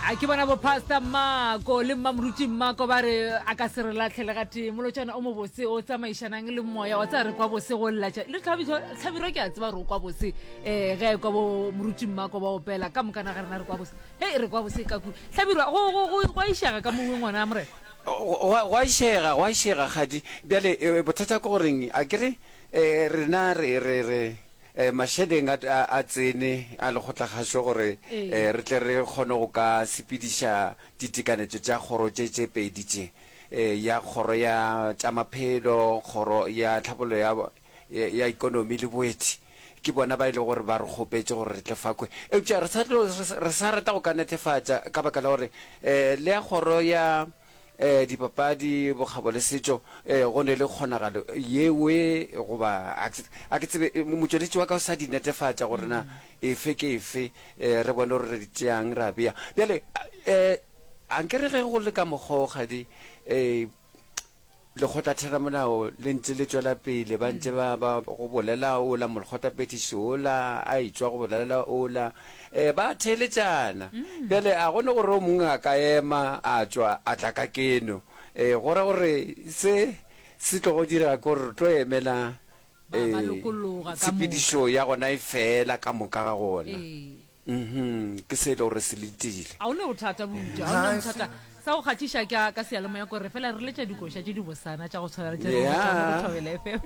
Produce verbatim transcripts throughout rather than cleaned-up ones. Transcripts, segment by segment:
A ke bona bo Pastor Mako le Mmamoruti Mmako ba re a ka se re latlhele ga tee. Molotšana o mobose o tsamaišanang le moya wa tsaya re kwa bose go lla tša le Hlabirwa ke a tseba gore o kwa bose um ge a kwa bo Moruti Mmako ba opela ka mokana ga rena re kwa bose. Hei re kwa bose ka ku Hlabirwa go go go go a išega ka mongwe ngwana morena. Go a išega, go a išega kgadi. Bjale bothata ke goreng a ke re rena re re re Mašeleng a a tsene a lekgotlakgašo gore re tle re kgone go ka sepediša ditekanetšo tša kgoro tše tše pedi tše, ya Kgoro ya tša Maphelo, Kgoro ya Tlhabollo ya ya Ekonomi le Boeti. Ke bona ba e lego gore ba re kgopetše gore re tle fa kwe. Eupša re sa tlo, re sa rata go ka netefatša ka baka la gore le ya Kgoro ya Dipapadi, bokgabo le setšo, go ne le kgonagalo yewe goba a ke tsebe, motšweletši wa ka o sa di netefatša gore na efe ke efe, re bone gore re di tšeang ra bea. Bjale, a nke re ge go le ka mokgwa o, kgadi, Lekgotlatheramolao le ntše le tšwela pele, ba ntše ba, ba go bolela ola, molekgotlaphethiši ola a etšwa go bolela ola, e, ba theeletšana. Bjale a go ne gore o mongwe a ka ema a tšwa a tla ka keno. E, go ra gore se se tlogo direga ke gore re tlo emela Ba, ba lokologa ka moka. tshepedišo ya gona e fela ka moka ga gona. Ee. Mhm, ke se e le gore se letile. A o ne bothata buti, a o ne bothata. Sa go kgahliša ka ka seyalemoya kore fela re letša dikoša tše di bosana tša go tshwana le tše re letšang mo go Yeah. Thobela F M.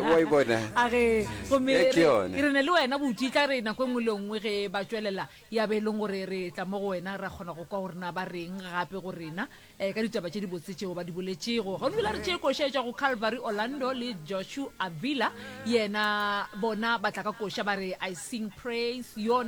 Wa e bona? A ge, gomme Ye ke re yone. re ne le wena buti, e tla re nako e nngwe le e nngwe ge ba tšwelela ya be e leng gore re tla mo go wena ra kgona go kwa gore na ba reng gape go rena eh, ka ditaba tše dibotse tšeo ba di boletšego. Gona bjale a re tšee koša e tšwa go Calvary Orlando le Joshua Avila, yena bona ba tla ka koša ba re I sing praise your